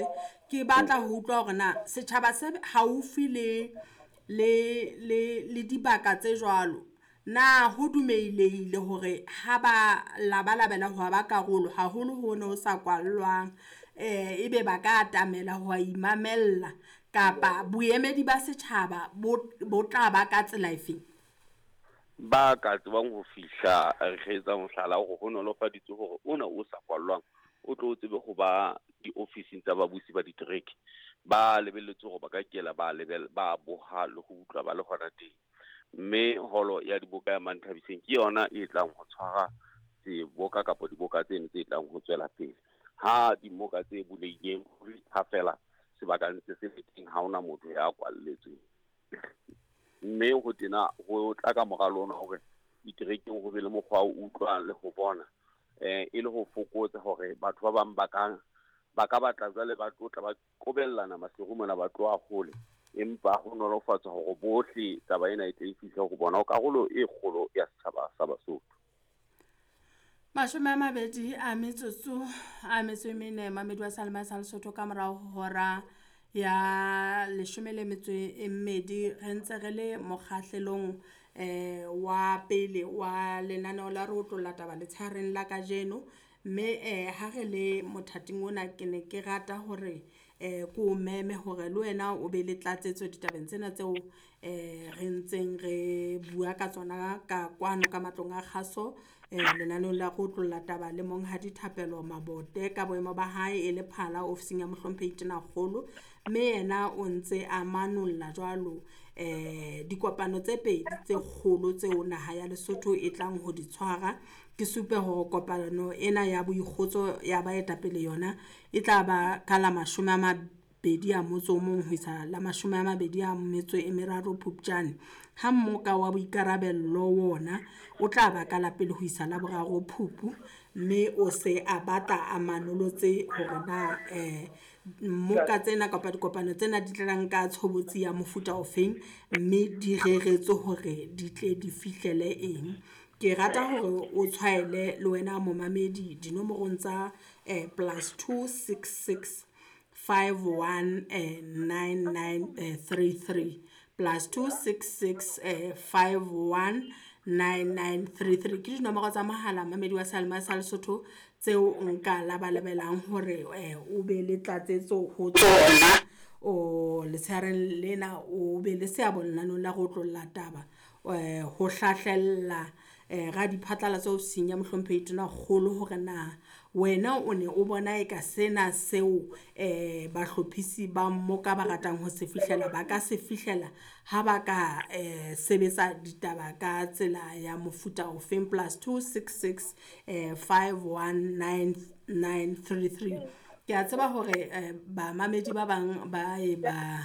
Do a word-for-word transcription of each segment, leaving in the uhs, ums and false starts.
ntate. Ke batla ho utlwa hore na setjhaba se haufi le le le le dibaka tse jwalo, na ho dumelehile hore ha ba labalabela ho ba karolo haholo ho no sa kwallwang, eh ebe ba ka atamela ho imamella kapa boemedi ba setjhaba bo bo tla ba ka tsela efeng? Ba ka tsebang ho fihla re etsa mohlala hore ho nolofaditswe hore ona o sa kwallwang o tlo tsebe ho ba diofising tsa babusi ba ditereke. Ba lebelletse hore ba ka kela ba lebel ba boha le ho utlwa ba le hona teng. Mme holo ya diboka ya Manthabiseng ke yona e tlang ho tshwara seboka kapa diboka tseno tse tlang ho tswela pele. Ha dimoka tse bulehileng ha fela sebaka ntse se le teng, ha hona motho ya kwalletsweng. Mme ho tena ho tla ka moralo ona hore diterekeng ho be le mokgwa o utlwang le ho bona, eh e le ho fokotsa hore batho ba bang ba ka ba ka batla jwale ba tlo tla ba qobellana Maseru mona ba tloha hole, empa ho nolofatsa hore bohle taba ena e tle e fihle ho bona ho karolo e kgolo ya setjhaba sa Basotho. Mashome a mabedi a metsotso a metso e mene mamedi wa Salema sa Lesotho ka morao ho hora ya leshome le metso e mmedi, re ntse re le mokgahlelong eh wa pele wa lenaneo la re otlolla taba letshehareng la kajeno. Mme eh ha re le mothating ona ke ne ke rata hore eh ko meme hore le wena o be le tlatsetso ditabeng tsena tseo eh re ntseng re bua ka tsona ka kwano ka matlong a kgaso, eh lenaneong la re otlolla taba le Monghadi Thapelo Mabote ka boemo ba hae e le phala ofising ya Mohlomphehi Tonakgolo. Mme yena o ntse a manolla jwalo eh dikopano tse pedi tse kgolo tseo naha ya Lesotho e tlang ho di tshwara. Ke supe hore kopano ena ya boikgotso ya baetapele yona e tla ba ka la mashome a mabedi a motso o mong ho isa la mashome a mabedi a metso e meraro Phupjane. Ha mmoka wa boikarabello wona o tla ba ka la pele ho isa la boraro Phupu, mme o se a batla a manolotse hore na eh mmoka tsena kapa dikopano tsena di tlang ka tshobotsi ya mofuta ofeng, mme di reretswe hore di tle di fihlele eng. Ke rata hore o tshwaele le wena momamedi dinomorong tsa eh plus two six six five one eh nine nine eh three three, plus two six six eh five one nine nine three three. Ke dinomoro tsa mohala mamedi wa Salema sa Lesotho tseo nka labalabelang hore eh o be le tlatsetso ho tsona o letshehareng lena, o be le seabo lenaneng la re otlolla taba eh ho hlahlella eh radiphatlalatso ofising ya Mohlomphehi Tonakgolo hore na wena o ne o bona eka sena seo eh bahlophisi ba mmoka ba ratang ho se fihlela ba ka se fihlela ha ba ka eh sebetsa ditaba ka tsela ya mofuta ofeng. Plus two six six eh five one nine nine three three. Ke a tseba hore eh bamamedi ba bang ba e ba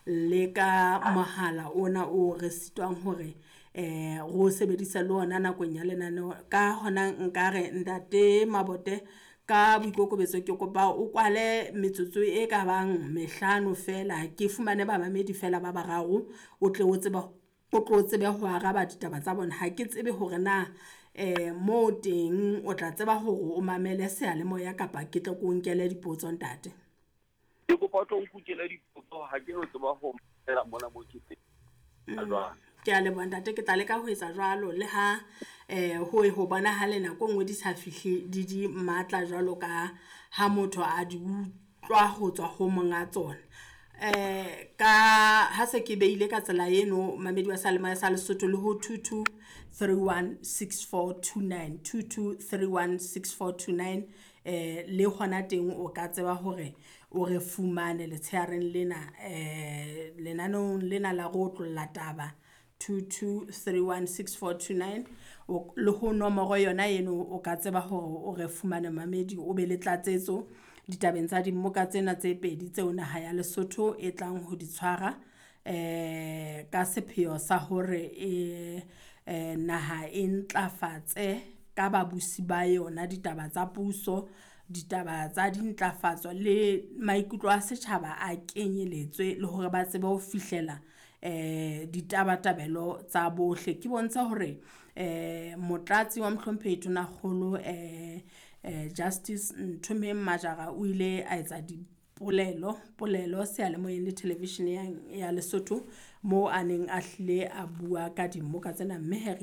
leka mohala ona o re sitwang hore eh ro sebedisa le ona nakong ya lenaneo. Ka hona nkare ntate Mabote ka boikokobetso ke kopa o kwale metsotso e ka bang mehlano fela, ke fumane bamamedi fela ba bararo, o tle o tsebe o tlo tsebe ho araba ditaba tsa bona. Ha ke tsebe hore na eh mo teng o tla tseba hore o mamele seyalemoya kapa ke tle ke o nkele dipotso ntate. Ke kopa o tlo nkukele dipotso, ha ke no tseba ho mamela mona mo ke teng. Jwang? Ke a leboha ntate, ke tla leka ho etsa jwalo le ha eh ho ho bonahala nako e nngwe di sa fihle di di matla jwalo ka ha motho a di utlwa ho tswa ho monga tsona. Eh ka ha se ke beile ka tsela eno mamedi wa Salema sa Lesotho le ho two two three one six four two nine, two two three one six four two nine, eh le hona teng o ka tseba hore o re fumane letshehareng lena eh lenaneong lena la re otlolla taba two two three one six four two nine, le ho nomoro yona eno o ka tseba hore o re fumane mamedi, o be le tlatsetso ditabeng tsa dimmoka tsena tse pedi tseo naha ya Lesotho e tlang ho di tshwara eh ka sepheo sa hore e eh naha e ntlafatse ka babusi ba yona ditaba tsa puso, ditaba tsa dintlafatso le maikutlo a setjhaba a kenyeletswe le hore ba tsebe ho fihlela eh ditabatabelo tsa bohle. Ke bontsha hore eh motlatsi wa Mohlomphehi Tonakgolo eh eh Justice Nthomeng Majara o ile a etsa di polelo polelo seyalemoyeng le television ya Lesotho moo a neng a hlile a bua ka dimmoka tsena mme he re ile